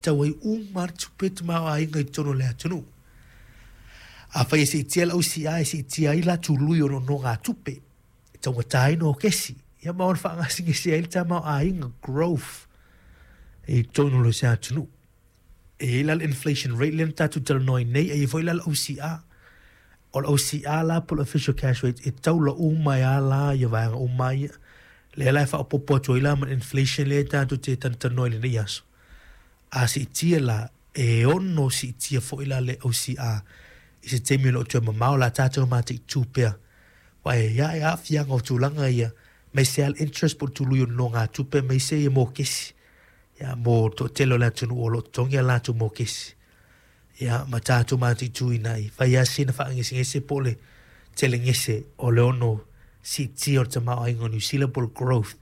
Tau ai uma le tupe tamaoaiga i totonu o le atunuu. Afai e siitia le OCR e siitia ai la tului o nonogatupe e taugata ai nokesi, ia ma ona faagasegase ai le tamaoaiga, growth, i totonu o se atunuu. E i ai la le inflation rate lea na tatou talanoa ai nei, e i ai foi la le OCR. O le OCR la po o le official cash rate e taula uma ai lava la ia vaega uma ia. Lea la e faaopoopo atu ai la ma le inflation lea tatou te talatalanoa i lenei aso. A siitia la, e ono siitia foi la le OCR i se taimi o lo o toe mamao o le a tatou mataitu pea. Aua e i ai aafiaga o tulaga ia, aemaise lava le interest po o le tului o nonogatupe aemaise ia mokesi ia mo le toatele o le atunuu o lo o totogi a latou mokesi. Ia ma tatou mataituina ai, fai lava sina faagesegese po o le telegese o le ono siitia o le tamaoaiga o Niu Sila po o le growth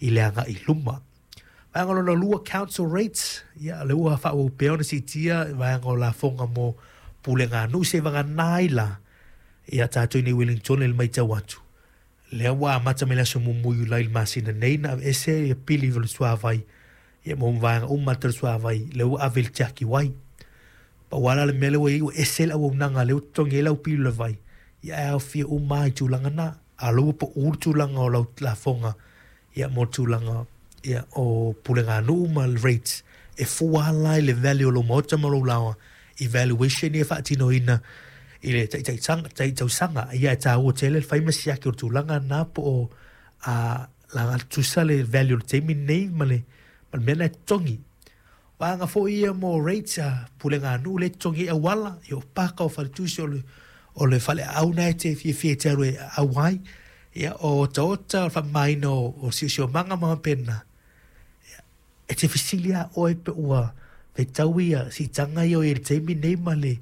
i le agai i luma. Vaega lona lua, council rates, ia lea ua faaauau pea ona siitia vaega o lafoga mo pulega a nuu seivagana ai la ia tatou i nei Wellington i le matau atu lea ua amata mai le aso muamua o Iulai i le masina nei na aveese ia pili o le suavai ia mo vaega uma o le suavai lea ua ave i le tiaki wai. Pau lava la le mea lea ua i ai ua ese le auaunaga lea ua totogi ai lau pili o le vai ia ae aofia uma lava i tulaga na. A o lea ua pau le tulaga o lau lafoga ia mo le tulaga ia o puleganuu ma le rates e fua lava la i le value o lou maota ma lou laoa i valuation ia e faatinoina i le tai tausaga. Ia e taua tele le fai ma siaki o le tulaga lena po o a laga tutusa le value o le taimi lenei ma le ma le mea lena e totogi. Vaega foi ia mo rates a puleganuu lea e totogi ai auala, ia o paka, o faletusi, o le o le faleaau lena e te fiafia e te alu e aau ai, ia o otaota, o le faamamaina o o siosiomaga ma faapena. Ia, e te fesili lava oe pe ua fetaui ia siitaga ia o i ai i le taimi lenei ma le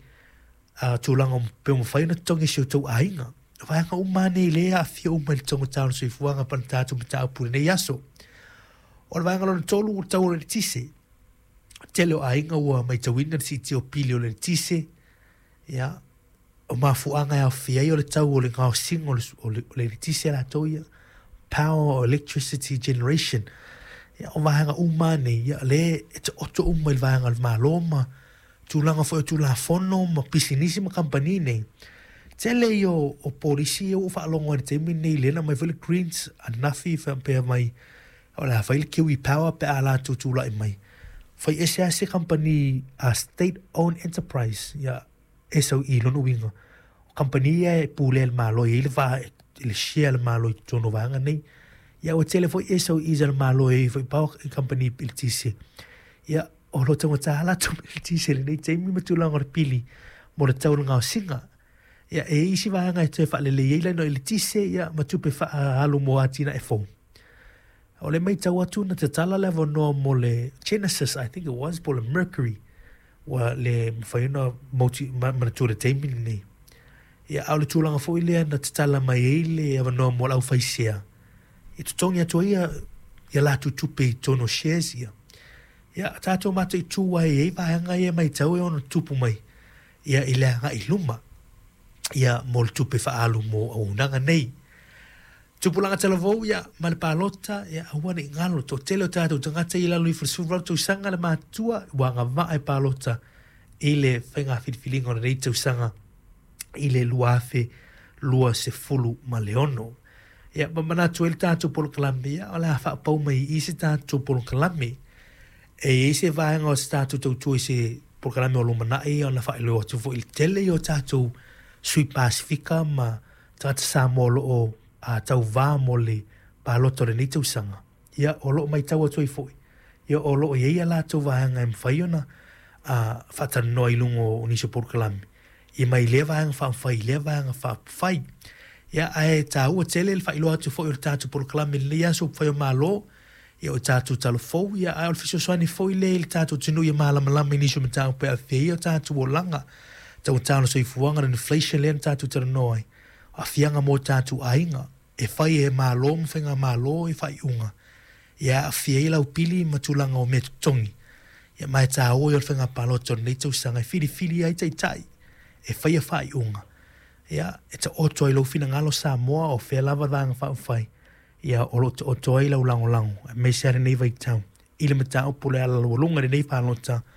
tulaga pe ua mafai ona totogi e si o tou aiga. O vaega uma lava nei lea e aafia uma i le taugata o le soifuaga pa le tatou mataupu i lenei aso. O le vaega lona tolu, o le tau o le eletise. Tele o aiga ua matauina le siitia o pili o le eletise, ia, o mafuaaga e aofia ai o le tau o le gaosiga o le, o le, o le eletise latou ia, power or electricity generation. Ia, o vaega uma lava nei, ia, lea e taoto uma i le vaega o le Malo ma tulaga foi o Tulafono ma pisinisi ma kamupani nei. Tele ia o, o polisi ia ua ou faalogo ai i le taimi lenei, lea na aumai foi le Greens ananafi faapea mai o le a fai le Kiwi Power pe a latou tulai mai. Fai ese lava se kamupani a state owned enterprise, ia SOE lona uiga, o kamupani ia e pulea e le Malo e i ai le va le share a le Malo i totonu o vaega nei. Ia ua tele foi SOEs a le Malo e i ai foi power kamupani eletise. Ia o lo o taugata lava latou mea eletise i lenei taimi ma tulaga o le pili mo le tau o le gaosiga. Ia e i ai isi vaega e toe faalelei ai laina eletise ia ma tupe faaalu mo atinae fou. O le matau atu na tatala le avanoa mo le Genesis, I think it was, po o le Mercury, ua le mafai ona mauti, manatua i le taimi lenei. Ia, a o le tulaga foi lea na tatala mai ai le avanoa mo le aufaisea, e totogi atu ai ia, ia latou tupe i totonu o shares ia. Ia, tatou mataitu ai e i ai vaega ia e matau e ono tupu mai ia i le agai i luma ia mo le tupe faaalu mo auaunaga nei. Tupulaga talavou ia ma le palota ia aua ne i galo toatele o tatou tagata ia i lalo ifo i le 18 tausaga le matutua ua agavaa e palota i le faiga filifiliga o lenei tausaga i le 2026. Ia ma manatu ai le tatou polokalame ia o le a faapau mai i i se tatou polokalame. E i ai se vaega o se tatou tautua i se polokalame o lumanai ona faailoa atu foi i le tele ia o tatou sui Pasefika ma tagata Samoa o lo o tauvā mo le palota o lenei tausaga, ia o lo o matau atu ai foi, ia o lo o i ai a latou vaega e mafai ona faatalanoa i luga o nisi o polokalame, ia mai lea vaega faaupufai i lea vaega faaupufai. Ia ae taua tele le faailoa atu foi o le tatou polokalame i lenei aso upufai o Malo, ia o tatou talavou, ia ae o le fesoasoani foi lea i le tatou atunuu ia malamalama i nisi o mataupu e aafia ai o tatou olaga, taugata o le soifuaga, le inflation lea na tatou talanoa ai, aafiaga mo tatou aiga, e fai e Malo ma Faigamalo i faaiuga, ia aafia ai lau pili ma tulaga o mea totogi, ia ma e taua ia o le faiga palota o lenei tausaga e filifili ai taitai e faia faaiuga, ia e taoto ai lou finagalo Samoa o fea lava le Vaega Faaupufai, ia o lo o taoto ai lau lagolago aemaise lava lenei vaitau. I le mataupu o le ala laualuga i lenei palota.